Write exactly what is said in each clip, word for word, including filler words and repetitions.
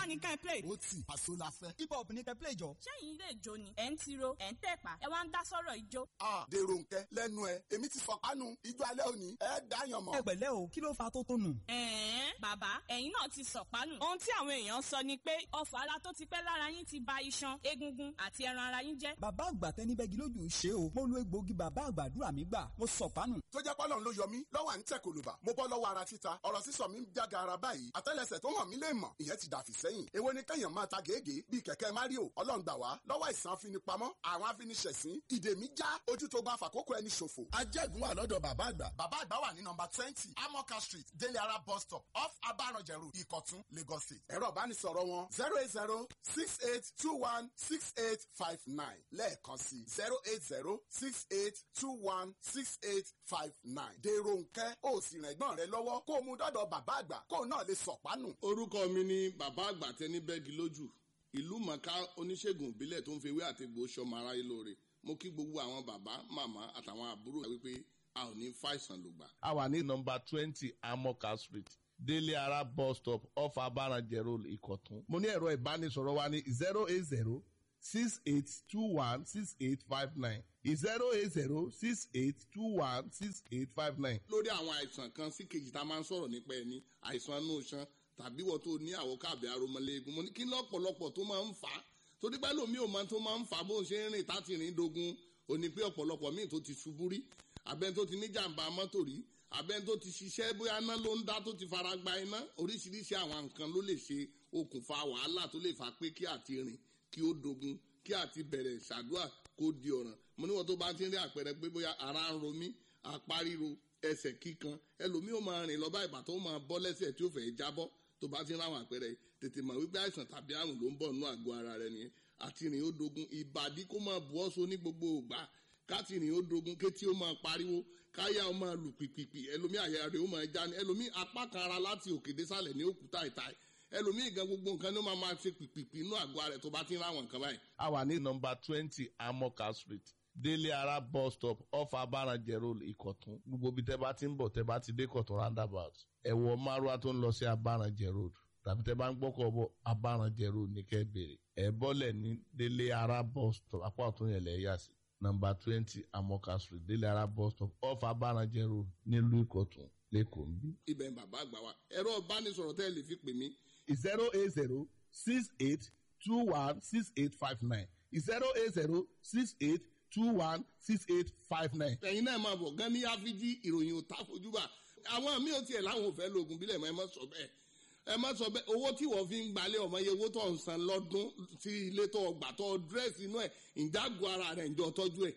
ní ká ẹ play. Ó tì, àṣọ la fẹ́. Hip hop ní kẹ́ play jọ. Ṣẹ́yìn ilé ìjó ni ẹ̀ ń tiro, ẹ̀ ń tẹ̀pá, ẹ wá ń dá sọ̀rọ̀ ìjó. A dèrò nkẹ lẹ́nu ẹ, èmi ti fọpánu ijó alẹ́ òní, ẹ dáyàn mọ́. Ẹ pẹ̀lẹ́ o, kí ló fa tó tónù? Ẹ̀ẹ́n, bàbá, ẹ̀yin náà ti sọ̀pánù. Ohun tí àwọn èèyàn sọ ni pé ọfà ara tó ti pẹ́ lára yín ti ba iṣan, egungun àti ẹran ara yín jẹ́. Bàbá àgbà tẹni bẹ́gi lójú ṣe o. Mo lo egbòogi bàbá àgbàdúrà mi gbà. Mo sọ̀pánù. Tó jẹ́ pọ́lọ́n ló yọ mí lọ́wọ́ à ń tẹ̀ kòlùbà. Mo bọ́ lọ́wọ́ ara títa, ọ̀rọ̀ sísọ mi ń jága ara báyìí. Àtẹ́lẹsẹ̀ tó hàn mí lè mọ̀, ìyẹn ti dàfí sẹ́yìn. Èwo ni kẹ́yàn máa ta gègé bíi kẹ̀kẹ́ Mario? Ọlọ́run gbà wá lọ́wọ́ àìsàn afinipamọ́, àwọn afiniṣẹ̀sín, ìdè mi já, ojú tó bá fàkókò ẹni ṣòfò. Ajẹ́gun wà lọ́dọ̀ bàbá àgbà. Bàbá àgbà wà ní nọmba twenty Amoka Street, Délé Ara bus stop, off Abaranjẹ Road, Ìkọ̀tún, Lagos State. Ẹ̀rọ ìbánisọ̀rọ̀ wọn zero eight zero six eight two one six eight five nine lẹ́ẹ̀kan sí zero eight zero six eight two one six eight five nine. Dèrò nkẹ́ ó sì rìn ẹ̀gbọ́n rẹ lọ́wọ́ kó o mú dọ́dọ̀ bàbá àgbà kó o náà lè sọ̀pánù. Orúkọ mi ni bàbá àgbà tẹni bẹ́gi lójú, ìlú mọ̀ká, oníṣègùn ìbílẹ̀ tó ń fi ewé àtegbò ṣọmọ aráyé lóore. Mo kí gbogbo àwọn bàbá, màmá àtàwọn àbúrò wípé a ò ní fàìsàn lògbà. A wà ní nọmba twenty Amoka Street, Délé Ara bus stop, off Abaranjẹ Road, Ìkọ̀tún. Mo ní ẹ̀rọ ìbánisọ̀rọ̀ wa ní zero eight zero six eight two one six eight five nine, zero eight zero six eight two one six eight five nine. Lórí àwọn àìsàn kan sí kejì tá a máa ń sọ̀rọ̀ nípa ẹni àìsàn inú iṣan tàbí wọ́n tó ní àwòká àbí aromọléegun, mo ní kí lọ́pọ̀lọpọ̀ tó máa ń fà á, torí pé lómi ò máa tó máa ń fà á bó ń ṣe ń rìn táti rìn dogun. Ò ní pé ọ̀pọ̀lọpọ̀ míì tó ti ṣubú rí, abẹ́ni tó ti ní jàǹbá mọ́tò rí, abẹ́ni tó ti ṣiṣẹ́ bóyá iná ló ń dá tó ti fara gba iná, oríṣiríṣi àwọn nǹkan ló lè ṣe okùnfà wàhálà tó lè fà pé kí àti rìn kí ó dogun, kí àti bẹ̀rẹ̀ ṣàdúrà kó di ọ̀ràn. Mo níwọ̀n tó bá ti ń rí àpẹẹrẹ pé bóyá ara ń ro mí, apá ríro, ẹsẹ̀ kíkan, ẹlòmíì ó máa rìn lọ bá ìbà tó máa bọ́ lẹ́sẹ̀ tí ó fẹ́ jábọ́, tó bá ti ń ráwọn àpẹẹrẹ yìí, tètè mọ̀ wípé àìsàn tàbí àrùn ló ń bọ̀ nínú àgọ́ ara rẹ nìyẹn. Àti rìn ó dogun, ìbàdí kó máa bu ọ́ so ní gbogbo ìgbà, káti rìn ó dogun, kétí ó máa pariwo, káyà ó máa lù pìpìpì, ẹlòmíì àyà rẹ̀ ó máa já ní, ẹlòmíì apá kan ara láti òkè désàlẹ̀ ní òkúta ìta, ẹlòmíì gan gbogbo nǹkan ló máa máa ṣe pìpìpì inú àgọ́ ara rẹ̀ tó bá ti ń ráwọn nǹkan báyìí. A wà ní nọmba twenty Amoka Street, Délé Ara bus stop, off Abaranjẹ Road, Ìkọ̀tún. Gbogbo ibi tẹ́ bá ti ń bọ̀, tẹ́ bá ti dé Ìkọ̀tún roundabout, ẹ wọ márúwá tó ń lọ sí Abaranjẹ Road, tàbí tẹ́ bá ń gbọ́kọ̀ bọ̀, Abaranjẹ Road ní kẹ́ bèrè. Ẹ bọ́lẹ̀ ní Délé Ara bus stop, apá ọ̀tún yẹn lẹ̀ yà sí. Nọmba twenty Amoka Street, Délé Ara bus stop, off Abaranjẹ Road, nílùú Ìkọ̀tún, l'Ékòó ń bí. Ibẹ̀ ń bàbá àgbà wa, ẹ̀rọ ìbánisọ̀rọ̀ tẹ́ ẹ lè fi pè mí zero eight zero six eight two one six eight five nine, zero eight zero six eight two one six eight five nine. Ẹ̀yin náà máa bọ̀ gan ní áfíjí, ìròyìn ò tá fojúbà. Àwọn míì ò tiẹ̀ láwọn ò fẹ́ lo oògùn bílẹ̀ mọ́. Ẹ má sọ bẹ́ẹ̀, ẹ má sọ bẹ́ẹ̀. Owó tí wọ́n fi ń gbalẹ̀ ọmọ iye owó tó ń san lọ́dún sí ilé tó gbà tó dírẹ́sì inú ẹ̀, ìjágun ara rẹ̀ ǹjọ́ tọ́jú ẹ̀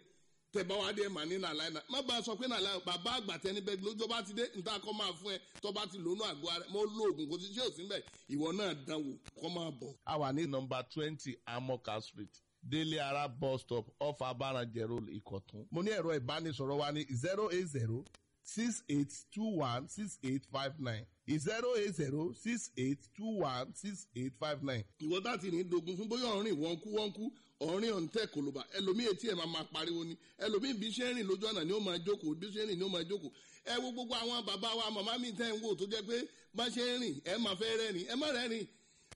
tẹ̀bá wa dé mà ní nàlá iná. Má bá a sọ pé nàlá bàbá àgbà tẹni bẹ́ẹ̀ lójó bá ti dé níta kọ́ máa fún ẹ tó bá ti lónú àgọ́ ara mo lo oògùn kò sí ṣé òsín bẹ́ẹ̀, ìwọ náà dánwò kọ́ máa bọ̀. A wà ní nọmba twenty Amoka Street, Délé Ara bus stop, off Abaranjẹ Road, Ìkọ̀tún. Mo ní ẹ̀rọ ìbánisọ̀rọ̀ wa ní zero eight zero six eight two one six eight five nine, zero eight zero six eight two one six eight five nine. Ìwọ láti ní dogun fún bóyá ọ̀rìn wọ́nkú wọ́nkú, ọ̀rìn ọ̀ǹtẹ̀ kòlóbà, ẹlòmíì etí ẹ̀ máa máa pariwo ni, ẹlòmíì bí ṣe ń rìn lójú ọ̀nà ni ó máa jókòó, bí ṣe ń rìn ni ó máa jókòó. Ẹ wo gbogbo àwọn bàbá wa, màmá mi tẹ́ ń wò tó jẹ́ pé bá ṣe ń rìn ẹ máa fẹ́ rẹ́rìn, ẹ má rẹ́rìn.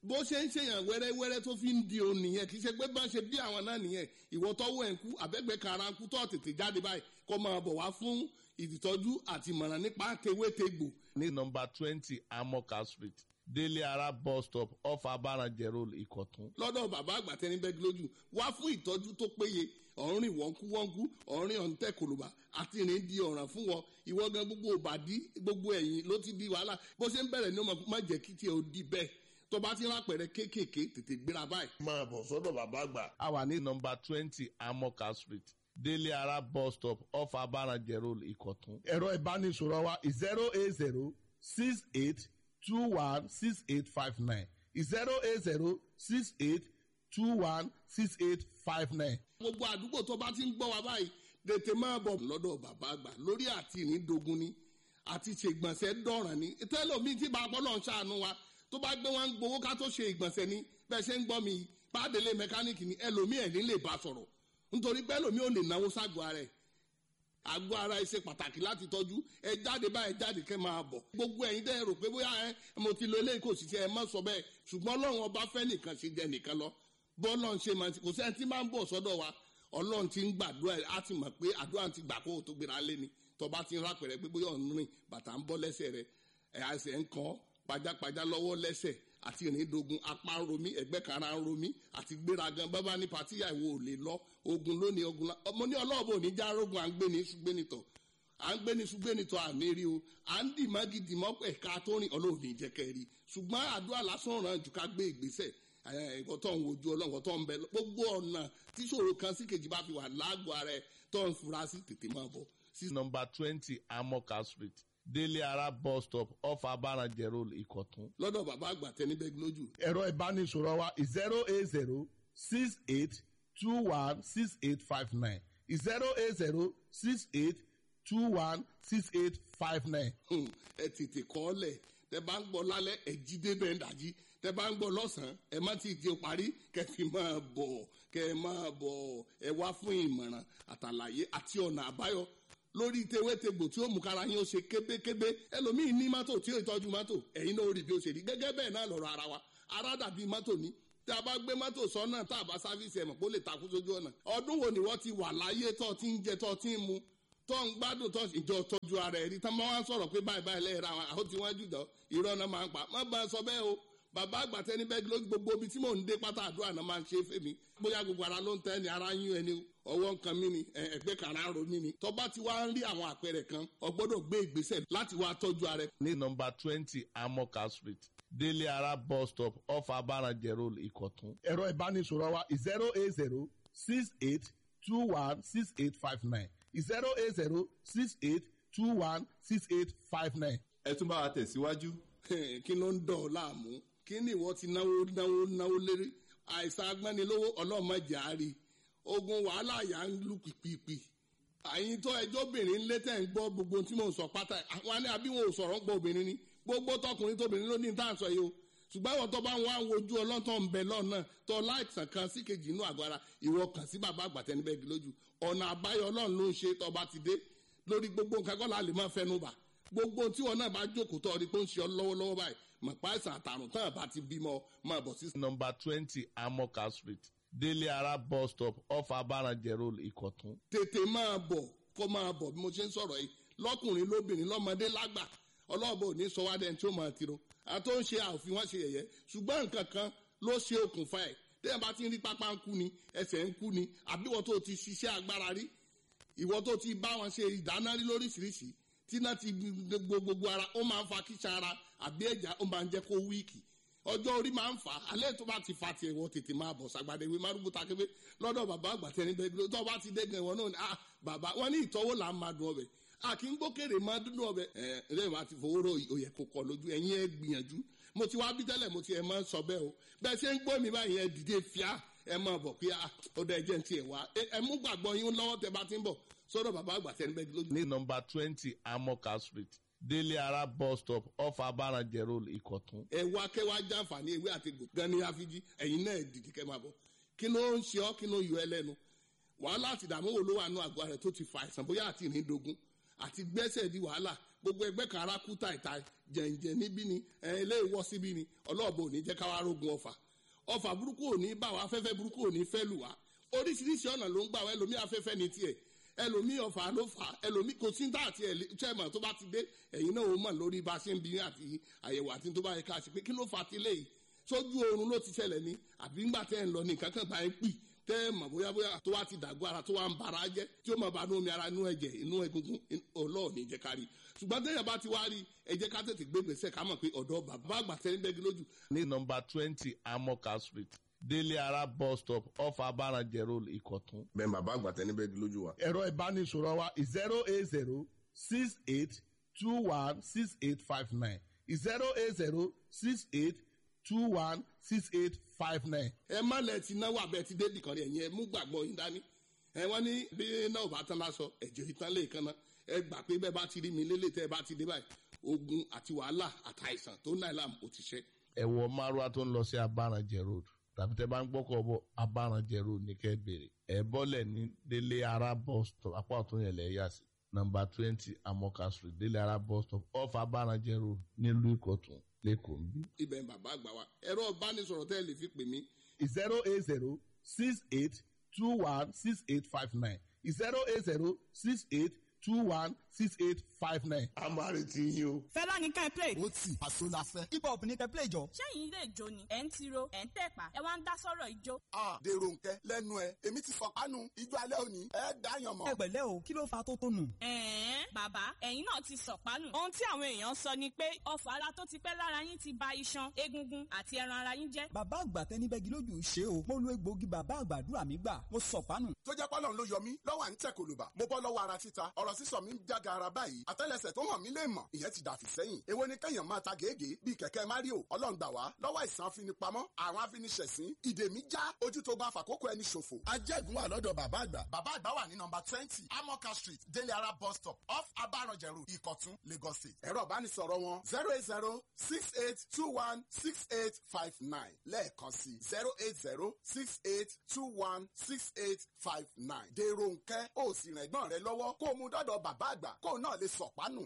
Bó ṣe ń ṣèyàn wẹ́rẹ́wẹ́rẹ́ tó fi ń di òun nìyẹn, kì í ṣe pé bá ṣe bí àwọn náà nìyẹn. Ìwọ tọ́wọ́ ẹ̀ ń kú àbẹ́gbẹ́ kara ń kú tó tètè jáde báyìí kó máa bọ̀ wá fún ìtọ́jú àti ìmọ̀ràn nípa tewétegbò. Ní nọmba twenty Amoka Street, Délé Ara bus stop, off Abaranjẹ Road, Ìkọ̀tún. Lọ́dọ̀ bàbá àgbà tẹni bẹ́ẹ̀ lójú wá fún ìtọ́jú tó péye. Ọ̀rìn wọ́nkú wọ́nkú, ọ̀rìn ọ̀ǹtẹ̀ kòlùbà àti ìrìn di ọ̀ràn fún wọn. Ìwọ gan gbogbo òbàdí gbogbo ẹ̀yìn ló ti di wàhálà. Bó ṣe ń bẹ̀rẹ̀ ní ọmọ má jẹ́ kí tiẹ̀ ó di bẹ́ẹ̀. Tó bá ti ń rápẹ̀rẹ̀ kéékèèké, tètè gbéra báyìí. Máa bọ̀ sọ́dọ̀ bàbá àgbà. A wà ní nọmba twenty Amoka Street, Délé Ara bus stop, off Abaranjẹ Road, Ìkọ̀tún. Ẹ̀rọ ìbánisọ̀rọ̀ wa zero eight zero six eight two one six eight five nine, zero eight zero six eight two one six eight five nine. Gbogbo àdúgbò tó bá ti ń gbọ́ wa báyìí, tètè máa bọ̀ lọ́dọ̀ bàbá àgbà lórí àti ìrìndogun ni àti ṣègbọ̀nsẹ̀ dọ̀ràn ni tẹ́lọ̀mí tí bàbá náà ń ṣàánú wa tó bá gbé wọn gbowó ká tó ṣe ìgbọ̀nsẹ̀ ni. Bẹ́ẹ̀ ṣe ń gbọ́ mi pàdélé mẹkáníìkì ni, ẹlòmíì ẹ̀ ní lè bá sọ̀rọ̀ nítorí pé ẹlòmíì ò lè náwó ságọ́ ara ẹ̀. Àgọ́ ara ẹ ṣe pàtàkì láti tọ́jú. Ẹ jáde báyìí, jáde kẹ́ máa bọ̀. Gbogbo ẹ̀yin dẹ́ rò pé bóyá ẹ mo ti lo eléyìí kò sì ṣe, ẹ má sọ bẹ́ẹ̀. Ṣùgbọ́n Ọlọ́run ọba fẹ́ nìkan ṣe jẹ nìkan lọ. Bọ́ọ̀lọ́run ṣe máa kò sẹ́ni tí máa ń bọ̀ sọ́dọ̀ wa. Ọlọ́run ti ń gbàdúrà, á ti mọ̀ pé àdúrà ti gbà kó o tó gbéra lé ni. Tọba ti ń rápẹ̀rẹ̀ pé bóyá ọ̀n rìn bàtà ń bọ́ lẹ́sẹ̀ rẹ̀, ẹ̀ àṣẹ ń kàn pajápajá lọ́wọ́ lẹ́sẹ̀ àti ìrìndogun, apá ń romí, ẹ̀gbẹ́ kan ara ń romí àti gbéragan bábá ní pàtíyà ìwò ò lè lọ ogun lónìí ogun la ọmọ ní ọlọ́ọ̀bù ò ní já rógun. À ń gbé ní ṣùgbẹ́nitọ̀, à ń gbé ní ṣùgbẹ́nitọ̀ àní rí o, à ń dì mọ́gì dì mọ́ ẹ̀ka tó rìn Ọlọ́run ní jẹ́ kẹ́ rí. Ṣùgbọ́n àdúrà lásán ràn jù ká gbé ìgbésẹ̀. Ẹ̀kọ́ tó ń wojú Ọlọ́run tó ń bẹ gbogbo ọ̀nà tíṣòro kan sí kejì bá fi wà lágọ̀ọ́ ara ẹ̀ tó ń fura sí, tètè máa bọ̀. Sí nọ́mbà twenty Amoka Street, Délé Ara bus stop, off Abaranjẹ Road, Ìkọ̀tún. Lọ́dọ̀ bàbá àgbà tẹnibẹ́gi lójú. Ẹ̀rọ ìbánisọ̀rọ̀ wa zero eight zero six eight two one six eight five nine, zero eight zero six eight two one six eight five nine. Ẹ tètè kọ́ ọ lẹ̀. Tẹ bá ń gbọ́ lálẹ́, ẹ jí débẹ̀ ń dàjí. Tẹ bá ń gbọ́ lọ́sàn-án, ẹ má ti di parí kẹ fi máa bọ̀, kẹ máa bọ̀. Ẹ wá fún ìmọ̀ràn àtàlàyé àti ọ̀nà àbáyọ lórí tewétegbò tí ó mú kára yín ó ṣe kébékébé. Ẹlòmíín ní mọ́tò tí ó ìtọ́jú mọ́tò, ẹ̀yin náà ó rí bí ó ṣe rí. Gẹ́gẹ́ bẹ́ẹ̀ náà lọ̀rọ̀ ara wa, ara dàbí mọ́tò ní. Tí a bá gbé mọ́tò sọ́nà tá a bá sáfíìsì ẹ̀mọ̀ kó lè takú sójú ọ̀nà. Ọdún wo ni wọ́n ti wà láyé tó ti ń jẹ, tó ti ń mu, tó ń gbádùn, tó ìjọ tọ́jú ara ẹ̀ rí tán máa ń sọ̀rọ̀ pé báyìí báyìí lẹ́yìn àwọn àwọn tí wọ́n jù dán, irọ́ náà máa ń pa. Má bá a sọ bẹ́ẹ̀ o. Bàbá àgbà tẹni bẹ́ẹ̀ ló gbogbo ibi tí mò ń dé pátá, àdúrà náà máa ń ṣe fèmí. Bóyá gbogbo ara ló ń tẹ́ ni, ara yún ẹni, ọwọ́ nǹkan mi ni, ẹgbẹ́ kan ara ń ro mí ni. Tó bá ti wá ń rí àwọn àpẹẹrẹ kan, o gbọ́dọ̀ gbé ìgbésẹ̀ láti wá tọ́jú ara ẹ. Ní nọ́mbà twenty Amoka Street, Délé Ara bus stop, off Abaranjẹ Road, Ìkọ̀tún. Ẹ̀rọ ìbánisọ̀rọ̀ wa zero eight zero six eight two one six eight five nine, zero eight zero six eight two one six eight five nine. Ẹ tún bá wa tẹ̀síwájú. Kí ló ń dọ̀ ọ́ láàmú? Kí ni ìwọ ti náwó náwó náwó lérí? Àìsàn agbẹ́nilówó ọlọ́mọdé àárí ogun wàhálà yà ń lù pìpìpì. Àyìn tó ẹjọ́ obìnrin lé tẹ̀ ń gbọ́ gbogbo tí mò ń sọ pátá, àwọn ní àbí wọn ò sọ̀rọ̀ ń gbọ́ obìnrin ni. Gbogbo tọkùnrin tóbìnrin ló ní tá à ń sọ yìí o. Ṣùgbọ́n àwọn tó bá ń wá wojú ọlọ́tọ̀ ń bẹ lọ́nà tó láìsàn kan sí kejì inú àgọ́ ara, ìwọ kàn sí bàbá àgbà tẹnibẹ́gi lójú. Ọ̀nà àbáyọ Ọlọ́run ló ń ṣe. Tó bá ti dé lórí gbogbo nǹkan kọ́ la lè máa fẹnu bà. Gbogbo tí wọn náà bá jókòó tó rí pé ó ń ṣe ọ lọ́wọ́lọ́wọ́ báyìí, mọ̀ pa àìsàn àtàrùn tán àbá ti bímọ, máa bọ̀ sí. Nọ́mbà twenty Amoka Street, Délé Ara bus stop, off Abaranjẹ Road, Ìkọ̀tún. Tètè máa bọ̀, kó máa bọ̀ bí mo ṣe ń sọ̀rọ̀ yìí, lọ́kùnrin lóbìnrin lọ́mọdé lágbà. Ọlọ́ọ̀bọ ò ní sọ wá dẹni tí ó máa tiro àti ó ń ṣe àòfin wọn ṣe yẹ̀yẹ́. Ṣùgbọ́n nǹkan kan ló ṣe okùnfà ẹ̀. Téèyàn bá ti ń rí pápá ń kú ni, ẹsẹ̀ ń kú ni, àbí ìwọ tó ti ṣiṣẹ́ agbára rí, ìwọ tó ti bá wọn ṣe ìdáná rí lóríṣiríṣi, tí náà ti gbogbo gbogbo ara, ó máa ń fa kíṣà ara àbí ẹ̀já, ó máa ń jẹ́ kó wíìkì. Ọjọ́ orí máa ń fà á. Alẹ́ tó bá ti fa tiẹ̀, wọ́n tètè máa bọ̀ sàgbàdé wí márùn takébé lọ́dọ̀ bàbá àgbà tẹni bẹ́ẹ̀. Tó bá ti dẹ́gàn, ìwọ náà ni ah bàbá wọn ní ìtọ́wò là ń máa dùn ọbẹ̀, a kì í gbókèrè máa dúdú ọbẹ̀. Ẹ ẹ máa ti fowó rò, òyẹ kò kọ lójú ẹ̀yin. Ẹ gbìyànjú, mo ti wá bí tẹ́lẹ̀, mo ti ẹ̀ máa ń sọ bẹ́ẹ̀ o. Bẹ́ẹ̀ ṣe ń gbọ́ mi báyìí, ẹ dìde fíà, ẹ máa bọ̀ pé ah ó dẹ jẹ́ ti ẹ̀ wá. Ẹ mú gbàgbọ́ yín lọ́wọ́ tẹ bá ti ń bọ̀ sọ́dọ̀ bàbá àgbà tẹni bẹ́ẹ̀ lójú. Ní nọ́mbà twenty Amoka Street, Délé Ara bus stop, off Abaranjẹ Road, Ìkọ̀tún. Ẹ wá kẹwàá jàǹfààní ewé àti egbò gan ni àfijì. Ẹ̀yin náà dìde kẹ́ máa bọ̀. Kí ló ń ṣe ọ́? Kí ló yọ ẹ́ lẹ́nu? Wàhálà àti ìdààmú wo ló wà nù àgọ́ rẹ̀ tó ti fa àìsàn, bóyá àti ìrìndògún àti gbẹ́sẹ̀ di wàhálà, gbogbo ẹgbẹ́ kan ara kú tàìtàì, jẹ̀ǹjẹ̀ níbí ni ẹ ilé ìwọ síbí ni? Ọlọ́ọ̀bọ ò ní jẹ́ káwá rógun ọ̀fà. Ọ̀fà burúkú ò ní bá wa, afẹ́fẹ́ burúkú ò ní fẹ́ lù wá. Oríṣiríṣi ọ̀nà ló ń gbà wá. Ẹlòmí afẹ́fẹ́ ní tiẹ̀, ẹlòmí ọ̀fà ló fà, ẹlòmí kò sí tá àti chairman tó bá ti dé, ẹ̀yin náà ó mọ̀ lórí bá a ṣe ń bí àti àyẹ̀wò àti tó bá yẹ ká ṣe pé kí ló fà ti léyìí. Sójú oorun ló ti ṣẹlẹ̀ ni, àbí ńgbà tẹ́ ń lọ ní nǹkan kan bá ń pì tẹ́ ẹ mọ̀ bóyá bóyá tó wá ti dàgbọ́ ara, tó wá ń bara jẹ́, tí ó máa bá inú omi ara, inú ẹ̀jẹ̀, inú egungun, ọlọ́ọ̀ni jẹ́ ká rí. Ṣùgbọ́n téèyàn bá ti wá rí, ẹ jẹ́ ká tètè gbé gbèsè ká mọ̀ pé ọ̀dọ́ bàbá àgbà tẹ́ ń bẹ́gi lójú. Ní nọ́mbà twenty Amoka Street, Délé Ara bus stop, off Abaranjẹ Road, Ìkọ̀tún. Bẹ́ẹ̀ bàbá àgbà tẹ́ ní bẹ́gi lójú wa. Ẹ̀rọ ìbánisọ̀rọ̀ wa zero eight zero six eight two one six eight five nine, zero eight zero six eight two one six eight five nine. Ẹ má lẹ ti náwó abẹ ti débì kan rí. Ẹ̀yin ẹ mú gbàgbọ́ yín dání. Ẹ wọ́n ní bí náà ò bá tán lásọ, ẹ̀jẹ̀ ìtàn lè kan náà. Ẹ gbà pé bẹ́ẹ̀ bá ti rí mi lélẹ̀, tẹ́ ẹ bá ti dé báyìí, ogun àti wàhálà àtàìsàn tó náà làm ò ti ṣe. Ẹ wọ márùwá tó ń lọ sí Abaranjẹ Road, tàbí tẹ́ bá ń gbọ́kọ̀ bọ̀, Abaranjẹ Road ní kẹ́ bèrè. Ẹ bọ́lẹ̀ ní Délé Ara bus stop, apá ọ̀tún yẹn lẹ̀ yà sí. Nọmba twenty Amoka Street, Délé Ara bus stop, off Abaranjẹ Road, nílùú Ìkọ̀tún, l'Ékòó ń bí. Ibẹ̀ ni bàbá àgbà wa. Ẹ̀rọ ìbánisọ̀rọ̀ tẹ́ ẹ lè fi pè mí zero eight zero six eight two one six eight five nine zero eight zero six eight two one six eight five nine. A máa retí yín o. Fẹlá ní ká ẹ play. Ó tì àṣọ la fẹ́. Hip hop ní kẹ́ play jọ. Ṣẹ́yìn ilé ìjó ni ẹ̀ ń tiro, ẹ̀ ń tẹ̀pá, ẹ wá ń dá sọ̀rọ̀ ijó. A dèrò nkẹ lẹ́nu ẹ, èmi ti sọ̀pánu ijó alẹ́ òní ẹ dáyàn mọ̀. Ẹ pẹ̀lẹ́ o, kí ló fa tó tó nù? Ẹ̀ẹ́n, bàbá, ẹ̀yin náà ti sọ̀pánù. Ohun tí àwọn èèyàn sọ ni pé ọfà ara tó ti pẹ́ lára yín ti ba iṣan, egungun àti ẹran ara yín jẹ́. Bàbá àgbà tẹnibẹ́gi lójú ṣe o. Mo lo egbòogi bàbá àgbàdúrà mi gbà. Mo sọ̀pánù. Tó jẹ́ pọ́lọ́n ló yọ mí lọ́wọ́ à ń tẹ̀ kòlùbà. Mo bọ́ lọ́wọ́ ara títa, ọ̀rọ̀ sísọ mi ń jága ara báyìí. Àtẹ́lẹsẹ̀ tó hàn mí lè mọ̀, ìyẹn ti dàfí sẹ́yìn. Èwo ni kẹ́yàn máa ta gègé bíi kẹ̀kẹ́ Mario? Ọlọ́run gbà wá lọ́wọ́ àìsàn afinipamọ́, àwọn afiniṣẹ̀sín, ìdè mi já, ojú tó bá fàkókò ẹni ṣòfò. Ajẹ́gun wà lọ́dọ̀ bàbá àgbà. Bàbá àgbà wà ní nọmba twenty Amoka Street, Délé Ara bus stop, off Abaranjẹ Road, Ìkọ̀tún, Lagos State. Ẹ̀rọ ìbánisọ̀rọ̀ wọn zero eight zero six eight two one six eight five nine lẹ́ẹ̀kan sí zero eight zero six eight two one six eight five nine. Dèrò nkẹ́, ó sì rìn ẹ̀gbọ́n rẹ lọ́wọ́ kó o mú dọ́dọ̀ bàbá àgbà kó o náà lè sọ̀pánù.